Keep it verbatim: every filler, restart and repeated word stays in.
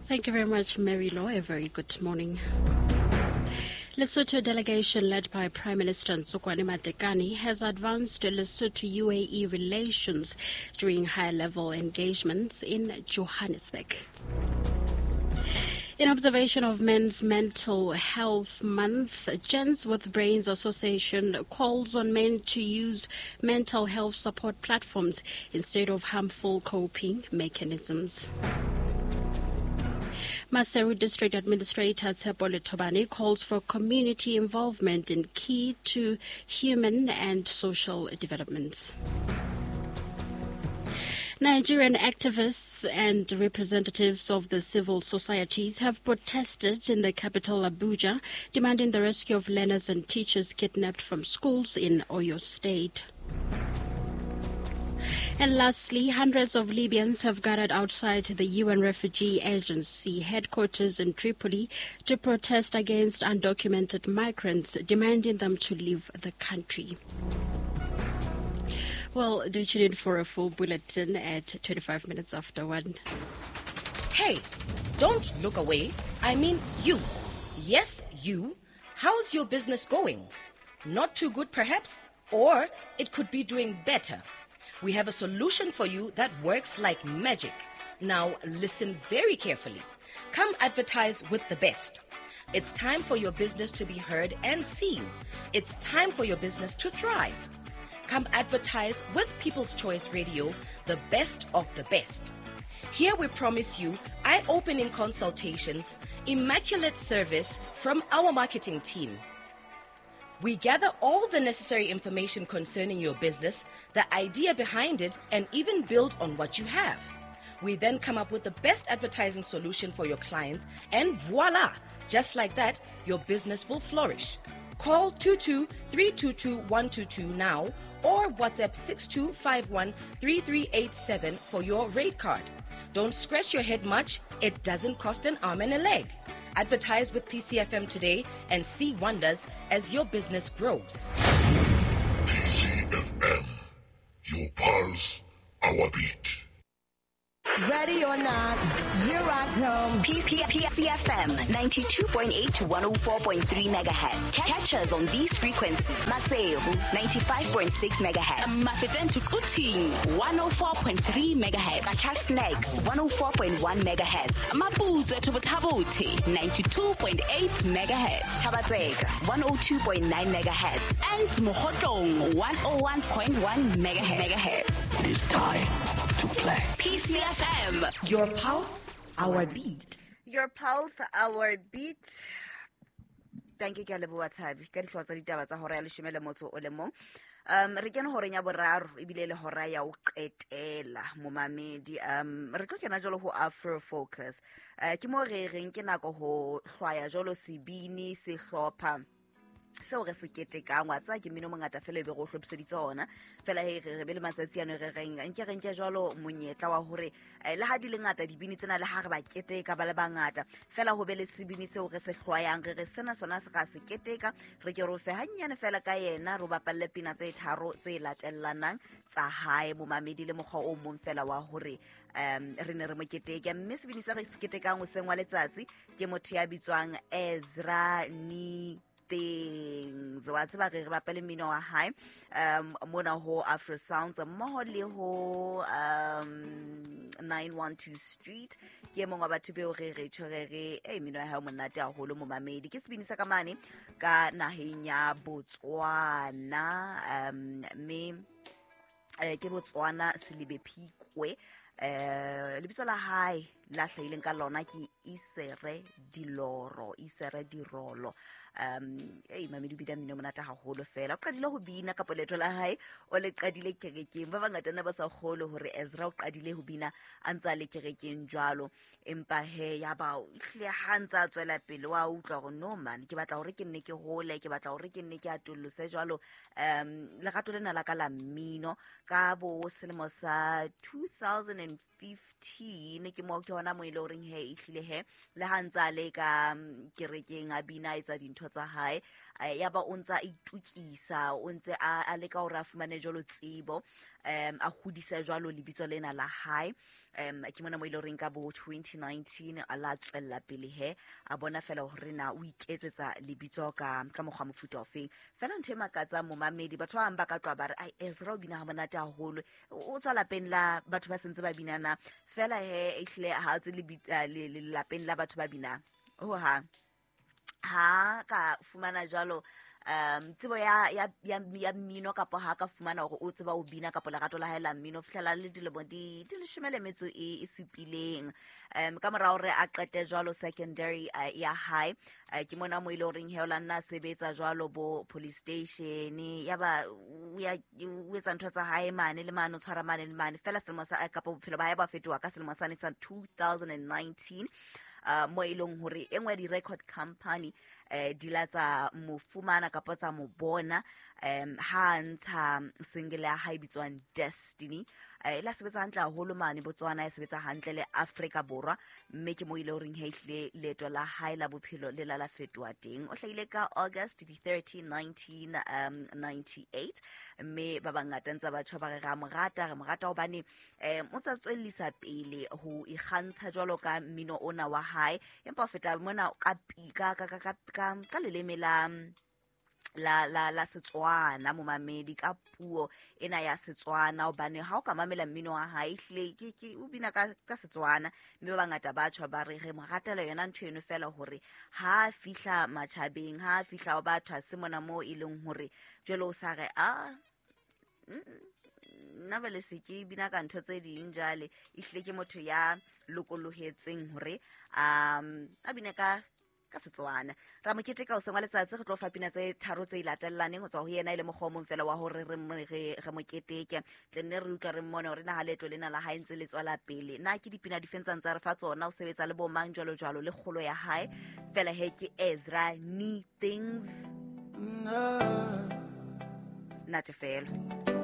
Thank you very much, Mary Law. A very good morning. Lesotho delegation led by Prime Minister Ntsokoane Matekane has advanced Lesotho-U A E relations during high-level engagements in Johannesburg. In observation of Men's Mental Health Month, Gents with Brains Association calls on men to use mental health support platforms instead of harmful coping mechanisms. Maseru District Administrator Tshepo Letobane calls for community involvement in key to human and social developments. Nigerian activists and representatives of the civil societies have protested in the capital Abuja, demanding the rescue of learners and teachers kidnapped from schools in Oyo State. And lastly, hundreds of Libyans have gathered outside the U N Refugee Agency headquarters in Tripoli to protest against undocumented migrants, demanding them to leave the country. Well, do tune in for a full bulletin at twenty-five minutes after one. Hey, don't look away. I mean you. Yes, you. How's your business going? Not too good, perhaps? Or it could be doing better. We have a solution for you that works like magic. Now listen very carefully. Come advertise with the best. It's time for your business to be heard and seen. It's time for your business to thrive. Come advertise with People's Choice Radio, the best of the best. Here we promise you eye-opening consultations, immaculate service from our marketing team. We gather all the necessary information concerning your business, the idea behind it, and even build on what you have. We then come up with the best advertising solution for your clients, and voila! Just like that, your business will flourish. Call two two three two two one two two now or WhatsApp six two five one three three eight seven for your rate card. Don't scratch your head much. It doesn't cost an arm and a leg. Advertise with P C F M today and see wonders as your business grows. P C F M, your pulse, our beat. Ready or not, here I come. P C F M ninety-two point eight to one oh four point three megahertz. Catch us on these frequencies. Maseru ninety-five point six megahertz. Mafeteng to Quthing one oh four point three megahertz. Qacha's Nek one oh four point one megahertz. Maputswe to Botha-Bothe ninety-two point eight megahertz. Thaba-Tseka one oh two point nine megahertz. And Mokhotlong one oh one point one megahertz. It is time to play. P C F M. Your pulse, our beat. Your pulse, our beat. Thank you, ke a leboha Thabi ka dihlooho tsa ditaba tsa hora ya leshome le motso o le mong. Um re kene horeng ya boraro ebile le hora ya ho qetela momamedi. Um re tlo kena jwalo ho Afro Focus. Uh, ke mo re reng ke nako ho hlwaya jwalo sebini sehlopha seo re se ketekang. Wa tseba ke mmino mongata fela e be re o hlophiseditse ona fela he re re be le matsatsi ano re reng nke re nke jwalo monyetla wa hore le ha di le ngata dibini tsena le ha re ba keteka ba le bangata fela ho be le sebini seo re se hlwayang re re sena sona se ga se keteka re ke re fe hanyane fela ka yena re bapalle pina tse tharo tse latellanang tsa hae momamedi le mokgwa o mong fela wa hore um re ne re mo keteke. Mme sebini se re se ketekang hoseng wa letsatsi ke motho ya bitswang Ezra Ni Things. Wa tseba re re bapale mmino wa hae um mona ho Afro Sounds mmoho le ho um nine one two Street. Ke mongwe wa batho beo re re tjho re re e mmino ya hae o monate haholo momamedi. Ke sebini sa ka mane ka naheng ya Botswana, um mme eh, ke Botswana Selibe Phikwe. Eh lebitso la hae la hlahileng ka lona ke Isere Diloro, Isere Dirolo. Um ei mamedi o bina mmino monate haholo fela. O qadile ho bina ka leeto la hae o le qadile kerekeng. Ba bangata ne ba sa kgolwe hore Ezra o qadile ho bina a ntse a le kerekeng jwalo, empa he ya ba hle ha ntse a tswela pele wa utlwa hore no man ke batla hore ke nne ke hole, ke batla hore ke nne ke atollose jwalo. Um lerato lena la ka la mmino ka bo selemo sa two thousand fifteen ke mo ke hona mo ile horeng he ehlile he le ha ntse a le ka kerekeng a bina a etsa dintho tsa hae, ya ba o ntse a itukisa, o ntse a leka hore a fumane jwalo tsebo, um a hodisa jwalo lebitso lena la hae. Um ke mona mo ile reng ka bo twenty nineteen a la tswella pele he a bona fela hore na o iketsetsa lebitso ka ka mokgwa mofuta ofeng. Fela ntho e makatsang momamedi, batho ba bang ba ka tloha ba re ai Ezra o bina ha monate haholo, o tswa lapeng la batho ba sentse ba binana. Fela he ehle ha tswe le lapeng la batho ba binang ho ha ha ka fumana jwalo um tsebo ya ya ya mmino kapa ha ka fumana hore o tseba o bina kapa lerato la hae la mmino fihlela le dilemo di di leshome le metso e e supileng. Um ka mora hore a qete jwalo secondary uh, ya hae, uh, ke mona mo ile horeng he o la nna sebetsa jwalo bo police station, ya ba ya o etsa ntho tsa hae mane le mane o tshwara mane le mane. Fela selemo sa kapa bophelo ba hae ba fetoha ka selemo sa two thousand nineteen, uh, mo ileng hore e nngwe di record company eh di la tsa mo fumana kapa tsa mo bona um ha ntsha single ya hae bitswang Destiny. Eh la sebetsa hantle haholo mane Botswana, e sebetsa hantle le Afrika Borwa, mme ke mo ile horeng he hle leeto la hae la bophelo le la la fetoha teng. O hlahile ka August the thirteenth nineteen ninety-eight, mme ba bangata ntse batho ba re ra mo rata, re mo rata hobane um o tsa tswellisa pele ho ikgantsha jwalo ka mmino ona wa hae, empa ho feta mona ka ka ka ka ka ka leleme la la la la Setswana momamedi, ka puo ena ya Setswana, hobane ha o ka mamela mmino wa hae ehlile ke ke o bina ka ka Setswana, mme ba bangata ba tjho ba re re mo ratela yona ntho eno fela hore ha fihla matjhabeng, ha fihla ho batho ha se mona mo e leng hore jwale o sa re a nna bele se ke bina ka ntho tse ding jwale. Ehlile ke motho ya lokolohetseng hore um a bine ka ka Setswana. Ra mo keteka o sengwa letsatsi, re tlo fa pina tse tharo tse latellaneng ho tswa ho yena e le mokgwa o mong fela wa hore re re re mo keteke, tle nne re utlwa re mmone hore na ha leeto lena la hae ntse le tswela pele, na ke dipina di feng tsa re fa tsona, o sebetsa le bo mang jwalo jwalo le kgolo ya hae. Fela he ke Ezra Ni Things natefelo.